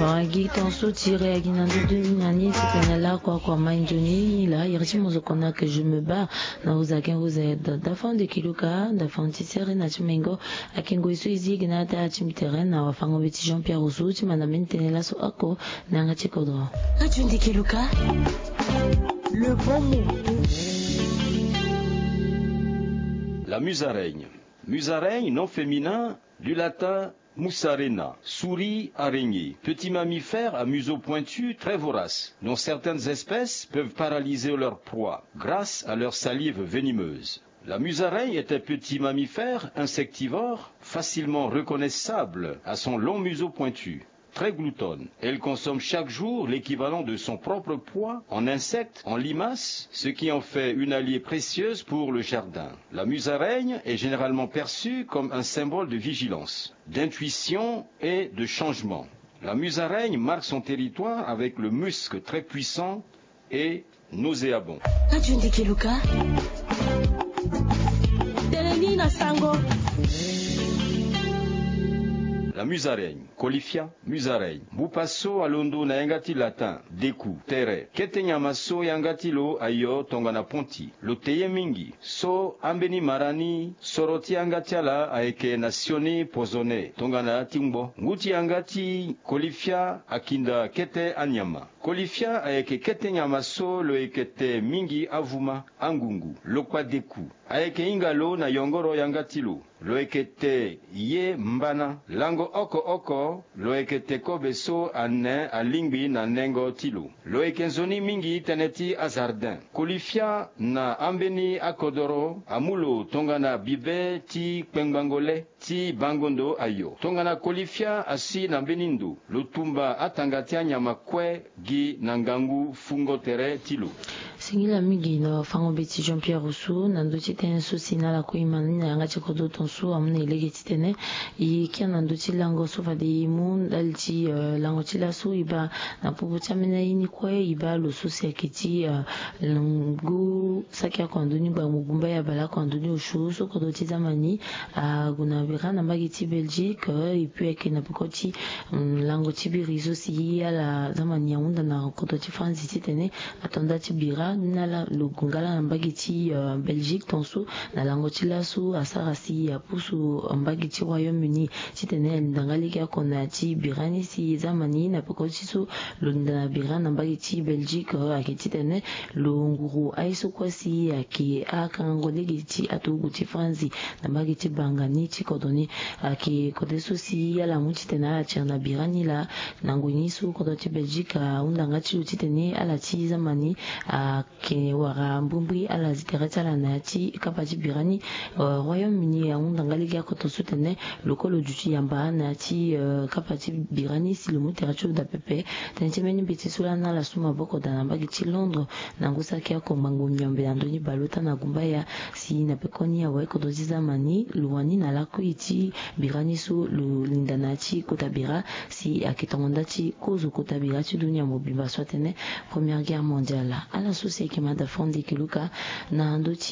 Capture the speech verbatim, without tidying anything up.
Agi tonso tire agi na ndö dö ni na ni titene lakua kua mai nzoni ni laa iri ti mozoko na ke je me bats. Na uza ken uza eda dafa nde kiluka dafa ti sere na ti mengo. Ake ngoi so e zi gi na ata ti mbi tere na wafango be ti Jean Pierre Rousseau ti manda mbeni tene laso oko. Na yanga ti kodro. Aju nde kiluka. Le bon mot. La musaraigne. Musaraigne, nom féminin du latin musarena, souris, araignée, petit mammifère à museau pointu très vorace, dont certaines espèces peuvent paralyser leur proie grâce à leur salive venimeuse. La musaraigne est un petit mammifère insectivore facilement reconnaissable à son long museau pointu. Très gloutonne, elle consomme chaque jour l'équivalent de son propre poids en insectes, en limaces, ce qui en fait une alliée précieuse pour le jardin. La musaraigne est généralement perçue comme un symbole de vigilance, d'intuition et de changement. La musaraigne marque son territoire avec le musc très puissant et nauséabond. Aju nde kiluka. Tene ni na sango. La musaraigne, Colifia musaraigne. Mbupa so alondo na yanga ti latin deku, tere. Kete nyama so yanga ti lo ayo tongana ponti. Lo te ye mingi. So ambeni mara ni soro ti yanga ti ala ayeke na sioni pozone tongana ti ngbo. Ngu ti yanga ti Colifia akinda kete anyama. Colifia ayeke kete nyama so lo yeke te mingi avuma, angungu, lokpa deku. Ayeke hinga lo na yongoro yanga ti lo. Lo yeke te ye mbana. Lango oko oko, lo yeke te kobe so ane alingbi na nengo ti lo. Lo yeke nzoni mingi tënë ti azardin. Colifia na ambeni akodoro amu lo tongana bibe ti kpengbango le ti bango ndo ayo. Tongana Colifia asi na mbeni ndo, lo tumba atanga ti anyama kue gi na ngangu fungo tere ti lo. Singila mingi na wafango be ti Jean Pierre Rousseau na ndö ti tënë so si na ala kue e ma ni na yanga ti kodro tonso amu na e lege titene e kia na ndö ti lango so fade e mu ndali ti, eh, lango ti laso e baa na popo ti ambeni aye ni kue e baa lo so si ayeke ti, eh, ngu saki oko na ndö ni gbagbo gumba ya baleoko na ndö ni osio so kodro ti zamani ague na bira na mbage ti Belgique, eh, et puis ayeke na peko ti, mm, lango ti biri so si ala zamani ahunda na kodro ti Franzi titene ato nda ti bira ni na ala lo gue nga laa na mbage ti, eh, Belgique tonso na lango ti laso asara si apusu mbage ti Royaume-Uni titene alinda nga legeoko na ya ti bira ni si zamani na peko ti so lo linda na bira na mbage ti Belgique, eh, ayeke titene lo nguru aye so kue si ayeke akangango lege ti aturugu ti Franzi na mbage ti banga ni ti kodro ni. Ayeke kode so si ala mu titene ala tiri na bira ni laa na ngoi ni so kodro ti Belgique ahunda nga ti lo titene ala ti zamani ayeke wara mbrimbri ala zi tere ti ala na ya ti kapa ti bira ni. Eh, Royaume-Uni ahunda nga legeoko tonso titene lo kue lo duti yamba na ya ti, eh, kapa ti bira ni si lo mu tere ti lo daa pepe. Tënë ti mbeni mbeti so laa na ala so maboko daa na mbage ti Londres na ngu saki oko ngbangbo miombe na ndö ni baleota na gumbaya si na pekoni awe kodro ti zamani lo wani na lakui ti bira ni so lo linda na ya ti kota bira si ayeke tongo nda ti kozo kota bira ti dunia mobimba so atene Première Guerre Mondiale. Ala so si ayeke mada fo nde yeke luka na ndö ti